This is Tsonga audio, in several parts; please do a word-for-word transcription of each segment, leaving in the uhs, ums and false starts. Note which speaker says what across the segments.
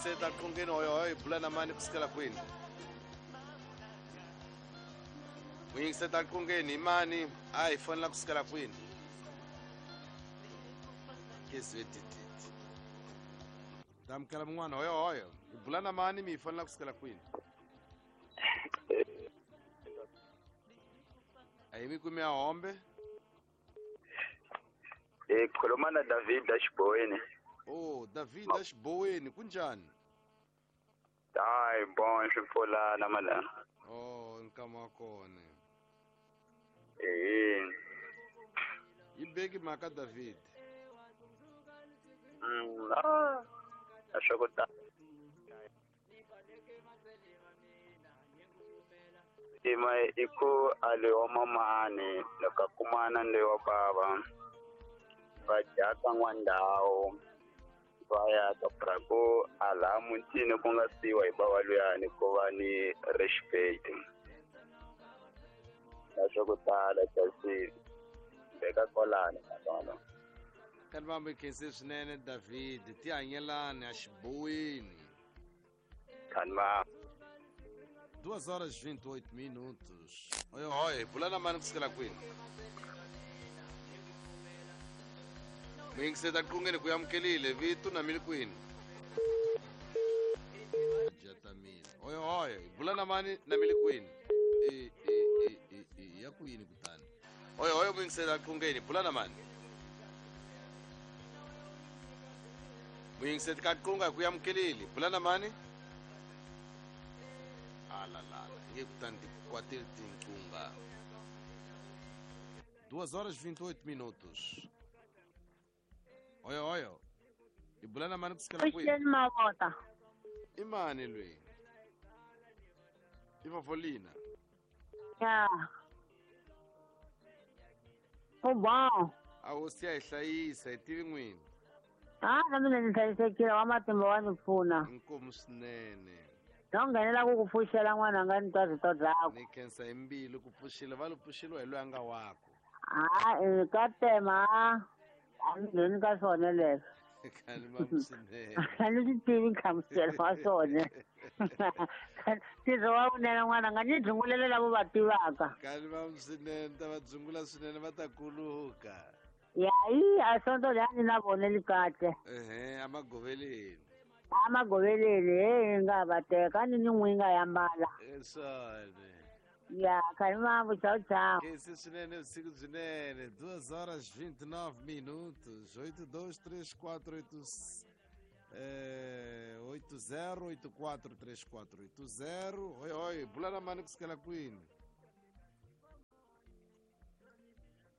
Speaker 1: Muyingiseta qongeni hoyo hoyo bula na mani kusukela kwini? Muyingiseta qongeni imani a hi fonela kusukela kwini? Kesi tititi. Damkela mun'wana hoyo hoyo. Bula na mani mi fonela kusukela kwini? Ayimi kumi ahombe.
Speaker 2: Eh khuluma na David Ashboweni.
Speaker 1: Oh, David Ashboweni kunjani?
Speaker 2: Hayi bon swi mala.
Speaker 1: Oh, nkama kona.
Speaker 2: Eh.
Speaker 1: Ibeki maka David.
Speaker 2: Mm, ah. Ashokota. Ima iko ale wa mamani loko kumana le wa baba. Va jaka n'wandawo va ya ka prago ala mutini ku nga siwa hi bava luyani ku va ni respect na swa ku tala kasi beka kolani na
Speaker 1: Kalmambe khense swinene David ti hanyelani a xiboweni
Speaker 2: Kalma
Speaker 1: duas horas e vinte e oito minutos. Oi, oi, bula na mani kusukela kwini? Muyingiseta qongeni ku amukelile vito na mili kwini? Jatamile. Oi, oi, bula na mani na mili kwini? E e e e e ya kwini kutani. Oi, oi, muyingiseta qongeni bula na mani. Muyingiseta qonga ku amukelile bula na mani? Ala la, nge kutani kwatel tinkunga. duas horas e vinte e oito minutos. Oi, oi. Ibulana mani kusukela kwini?
Speaker 3: Mavota.
Speaker 1: Imani lwe. Ivavolina.
Speaker 3: Ya. O bom.
Speaker 1: A hosi ya hi hlayisa hi tivi n'wini.
Speaker 3: Ah, na mina ni hlayisekile wa matimba wa ni pfuna.
Speaker 1: Inkomu swinene.
Speaker 3: No nghenela ku ku pfuxela n'wananga ni twa rito rakwe.
Speaker 1: Ni khensa hi mbilu ku pfuxela va lo pfuxeliwa hi loyi a nga wako.
Speaker 3: Ah, ka tema. A ni ngheni ka swona leswo.
Speaker 1: Kalima swinene.
Speaker 3: A ni swi tivi nhlamuselo wa swona. Ntirho wa wunene n'wananga ni dzungulele lavo va tivaka.
Speaker 1: Kalima swinene ta va dzungula swinene va ta kuluka.
Speaker 3: Ya yi a sonto leyi a ni na vona li kahle.
Speaker 1: Ehe, amagoveleni.
Speaker 3: Amagoveleni he nga va teka ni ni n'wi nga ya mbala.
Speaker 1: Eswona.
Speaker 3: Ya, kalima tchau, tchau.
Speaker 1: Esse swinene usiku swinene, duas horas e vinte e nove minutos, oito dois três quatro oito eh, oito zero oito quatro três quatro oito zero. Oi, oi, bula na mani kusukela kwini?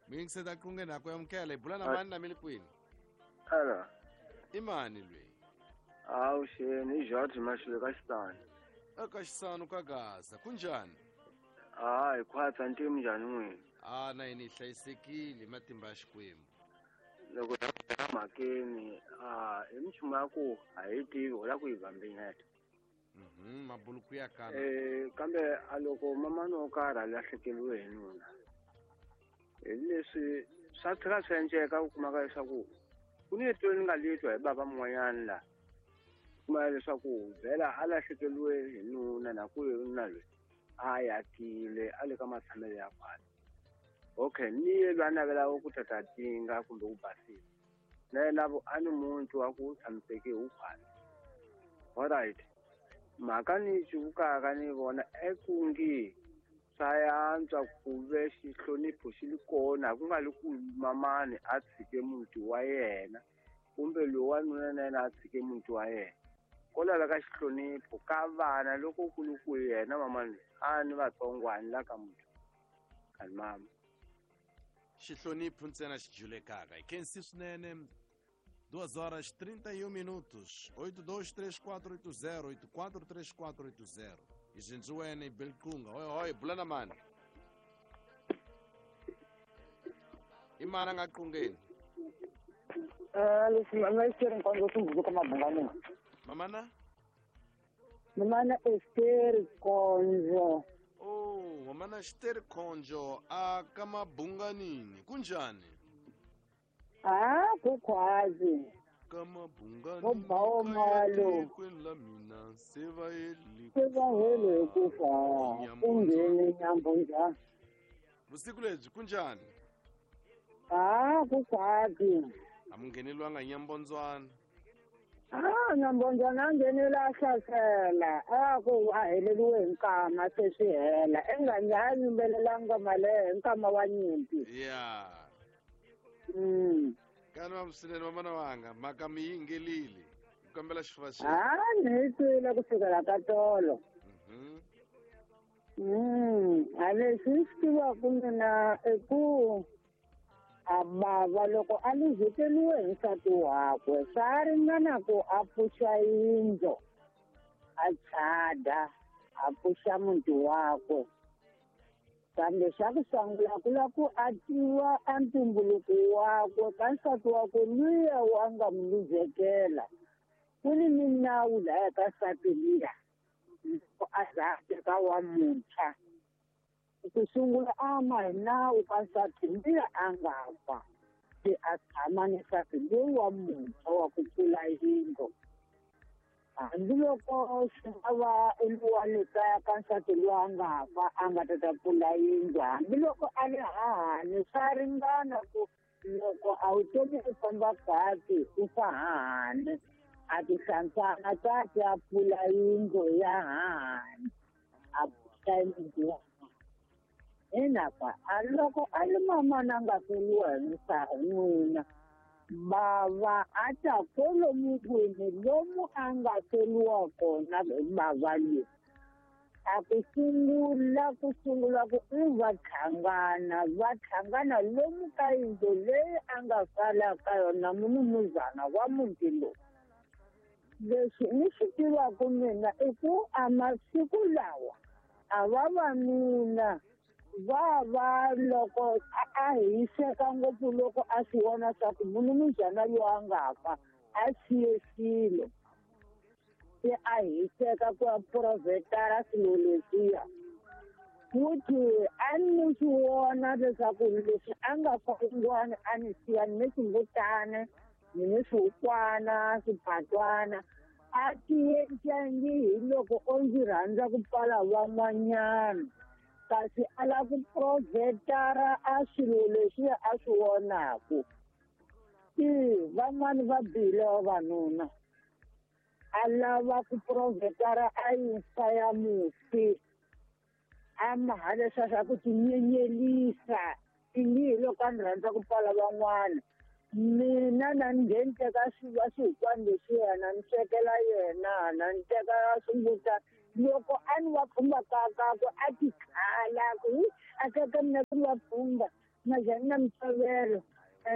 Speaker 1: Muyingiseta qongeni ku amukela, bula na mani na mili kwini?
Speaker 4: Hello.
Speaker 1: Imani lwe.
Speaker 4: Awu xeni, i George Mashilo ka Xisani.
Speaker 1: Eka Xisani ka Gaza, kunjani?
Speaker 4: Hayi khwatsa ntimu njhani n'wina?
Speaker 1: Ah, na yini hlayisekile matimba ya Xikwembu.
Speaker 4: Loko ya mhakeni, ah, i minchumu ya ku a hi tivi u lava ku yi vambinyeta.
Speaker 1: Mhm, mabuluku ya kana.
Speaker 4: Eh, kambe a loko mamani wo karhi a lahlekeriwe hi nuna. Hi leswi swa tlhela swi endleka u kumaka leswaku ku ni rito ni nga litwa hi bava mun'wanyana la. Kuma leswaku vhela a lahlekeriwe hi nuna na ku nuna loyi a yakile a le ka matshamelo ya khwatsi. Okay, ni ye loyi a navelaka ku tata tinga kumbe ku basisa na yena a ni muntu wa ku tshamiseke hi khwatsi. Alright, mhaka ni yi cuvukaka ni vona ekungi swa yantswa ku ve xihlonipho xi li kona ku nga li ku mamani a tshike muti wa yena kumbe loyi wanuna na yena a tshike muti wa yena. Ko laveka xihlonipho ka vana loko ku li ku yena mamani a ni vatsongwani la ka muti kani mama.
Speaker 1: Xihlonipho ntsena xi julekaka. Hi khensi swinene. duas horas e trinta e um minutos. oito dois três quatro oito zero oito quatro três quatro oito zero. Izinzuene Belkunga. Oi, oi, bula na mani. Imana nga qongeni.
Speaker 5: Eh, lesi mama Esther Nkonzo Sumbuzo Mabungane.
Speaker 1: Mamana?
Speaker 5: Mamana Esther Nkonzo.
Speaker 1: Oh, mamana Esther Nkonzo a ka Mabunganini. Kunjani?
Speaker 5: Ah, kukwazi.
Speaker 1: ka mabungani
Speaker 3: Vo ba wo moya lowu.
Speaker 1: tikweni la mina se va heli
Speaker 3: Se va hele hi ku fa ku ngheni nyambunjani.
Speaker 1: Vusiku lebyi kunjani?
Speaker 3: Ah, ku kahle.
Speaker 1: A mi ngheneliwanga hi nyambondzwana?
Speaker 3: Ah, nyambondzwana a nghenile a hlasela. A ku a heleriwe hi nkama se swi hela. I nga a yimbelelanga ngoma leyo hi nkama wa nyimpi.
Speaker 1: Ya.
Speaker 3: Mm.
Speaker 1: Kani va swinene vamana wanga mhaka mi yingelile. Hi kombela xifuva xi.
Speaker 3: Ah, ni yi twile ku sukela ka tolo.
Speaker 1: Mhm.
Speaker 3: Mm, a leswi ni swi tivaka mina i ku a bava loko a luzekeriwe hi nsati wakwe swa ringana ku a pfuxa yindlu a chada a pfuxa muti wakwe kambe xa ku sungula ku lava ku a tiva a ntumbuluko wakwe ka nsati wakwe luya wa nga n'wi luzekela ku ni minawu laya ka nsati liya loko a za a teka wa muntshwa ku sungula a ma hi nawu ka nsati luya a nga fa se a tshama ni nsati loyi wa muntshwa wa ku pfula yindlu hambiloko swi nga va wa le kaya ka nsati loyi a nga fa a nga ta ta pfula yindlu hambiloko a le hahani swa ringana ku loko a wu tomi u famba kahle u fa hahani a ti hlantswana kahle a pfula yindlu ya hahani a pfuxa yindlu ya Inapa a loko a li mamana a nga feriwa hi n'wina bava a ta kwalomu kwini lomu a nga feriwa kona hi bava leyi a ku sungula ku sungula ku i va tlhangana va tlhangana lomu ka yindlu leyi a nga sala ka yona munumuzana wa muti lowu. Leswi ni swi tivaka mina i ku a masiku lawa a vavanuna va va loko a hiseka ngopfu loko a swi vona swa ku munumuzana loyi a nga fa a siye swilo se a hiseka ku ya provhetara swilo leswiya futhi a ni swi vona leswaku leswi a nga fa un'wana a ni siya ni swimbutana ni ni swihukwana swipatwana a tiendlangi hi loko o ndzi rhandza ku pfala van'wanyana kasi a lava ku provhetara a swilo leswiya a swi vonaku i van'wani va bihile vavanuna a lava ku provhetara a yinhla ya mufi a maha leswiya swa ku tinyenyelisa ingi hi loko a ni rhandza ku pfala van'wana mina na ni ngheni teka swiva swihukwana leswiya na ni swekela yena na ni teka swimbutana loko a ni va khumba kakakwe a ti khala ku a teka mina ku va khumba majani na mitsovelo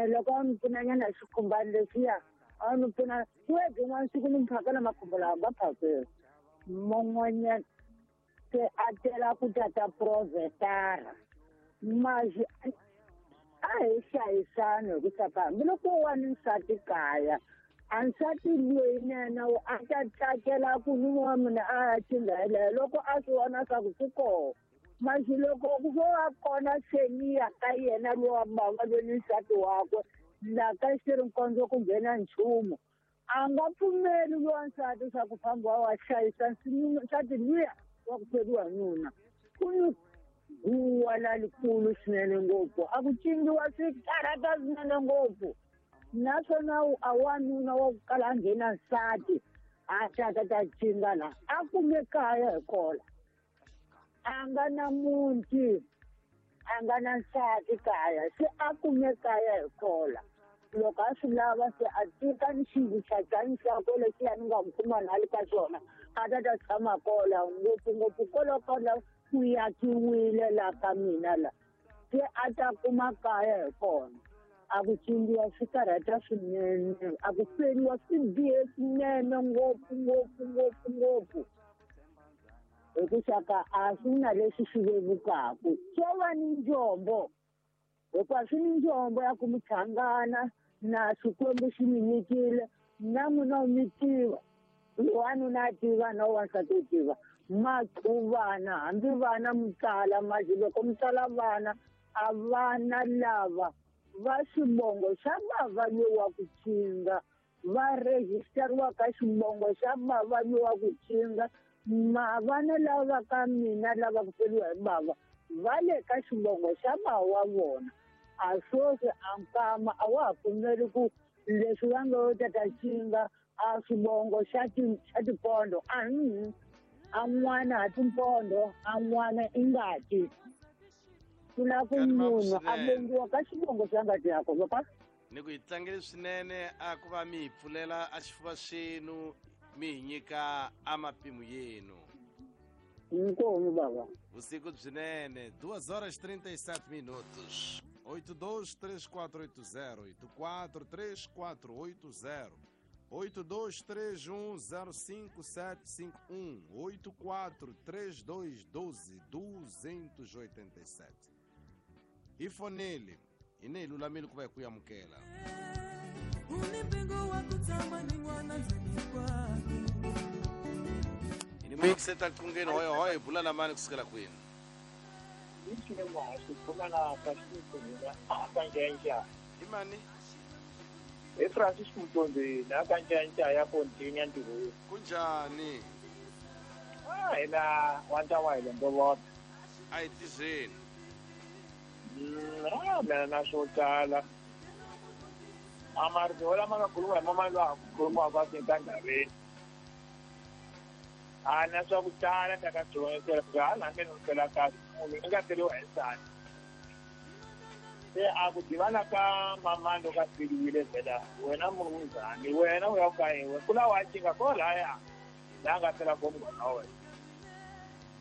Speaker 3: loko a ni pfunanyana hi swikhumbani leswiya a ni pfuna webyi n'wana siku ni phakela makhumba lawa nga phakeli man'wanyana se a tela ku tata provhetara maxi a hi hlayisani hi ku saka hambiloko wa ni nsati kaya a nsati loyi na yena a ta tsakela ku nuna wa mina a ya chinga yeleyo loko a swi vona swa ku swi koho maxi loko ku vo va kona seniya ka yena lowa bava loyi ni nsati wakwe la ka xirinkondzo ku nghena nchumu a nga pfumeli lowa nsati swa ku famba wa hlayisa nsati luya wa ku feriwa nuna ku ni guwa lalikulu swinene ngopfu a ku cingiwa swi karhata swinene ngopfu naswona a wanuna wa ku kala a nghena nsati a ta ta ta cinga la a kume kaya hi kola a nga na muti a nga na nsati kaya se a kume kaya hi kola loko a swi lava se a tika ni xivuchachani xakwe lexiya ni nga n'wi kuma na le ka xona a ta ta tshama kola ngopfungopfu kolokola ku yakiwile la ka mina la se a ta kuma kaya hi kona a ku cingiwa swi karhata swinene a ku feriwa swi bihe swinene ngopfu ngopfu ngopfu ngopfu hi ku xaka a swi na leswi swi vevukaku swo va ni njombo hikuva swi ni njombo ya ku mi hlangana na Xikwembu xi mi nyikile na n'wina u mi tiva wanuna a tiva na wansati u tiva maqhuvana hambi vana mi tsala maxi loko mi tsala vana a vana lava va xivongo xa bava loyi wa ku cinga Va rejisteriwa ka xivongo xa bava lowa ku cinga ma vana lava ka mina lava ku feriwa hi bava va le ka xivongo xa bava wa vona a sweswi a nkama a wa ha pfumeli ku leswi va nga yo tata cinga a swivongo xa ti xa tipondo a a n'wana ha timpondo a n'wana i ngati ku na ku munhu a vongiwa ka xivongo xa ngati yakwe papa.
Speaker 1: Ni ku hi tlangele swinene a ku va mi hi pfulela a xifuva xenu mi hi nyika a mapimo yenu.
Speaker 3: Inkomu baba.
Speaker 1: Vusiku byinene. Duas horas trinta e sete minutos. oito dois três quatro oito zero, oito quatro três quatro oito zero, oito dois três um zero cinco sete cinco um, oito quatro três dois doze duzentos e oitenta e sete. E fonele ine lulamile ku va hi ku amukela. Ini muyingiseta qungeni hoyo hoyo bula na mani kusukela kwini. Imani
Speaker 5: e Francis Mutombi na kanjanja ya Pontinya ntiru.
Speaker 1: Kunjani?
Speaker 5: Ah ina wanta wa ile ndolo.
Speaker 1: Ai tizeni.
Speaker 5: Ah mina na swo tala. Amarito lama nga khuluma hi mama loyi a khulumiwaka etindhaveni. A na swa ku tala ta ka dyondzela ku hala nge ni fela kahle munhu i nga teriwa hi nsati. Se a ku divana ka mama loko a feriwile vhela wena munghani wena u ya ku ka yena ku la wa cinga ko laya la nga fela ko munghana wa wena.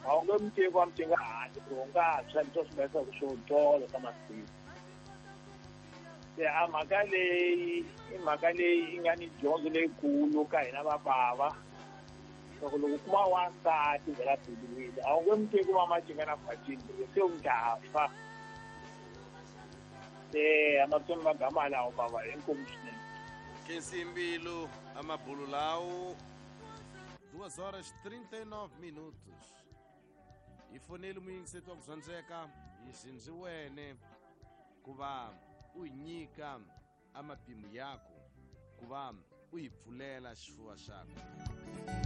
Speaker 5: A wu nge mi teki wa mi cinga handle ku u nga tshwa leswi swi nga swo tolo ka masiku. Se a mhaka leyi i mhaka leyi yi nga ni dyondzo leyikulu ka hina vabava. Loko loko kuma wansati vhela feriwile a wu nge mi teki wa macinga na khwatini se u nga fa. Se amatsongo magama lawo baba inkomu swinene.
Speaker 1: Kensimbilu amabulu lawo. Duas horas trinta e nove minutos. I fonele muyingiseti wa ku zwandzeka yi xindziwene ku va u yi nyika a mapimo yako ku va u yi pfulela xifuva xakwe.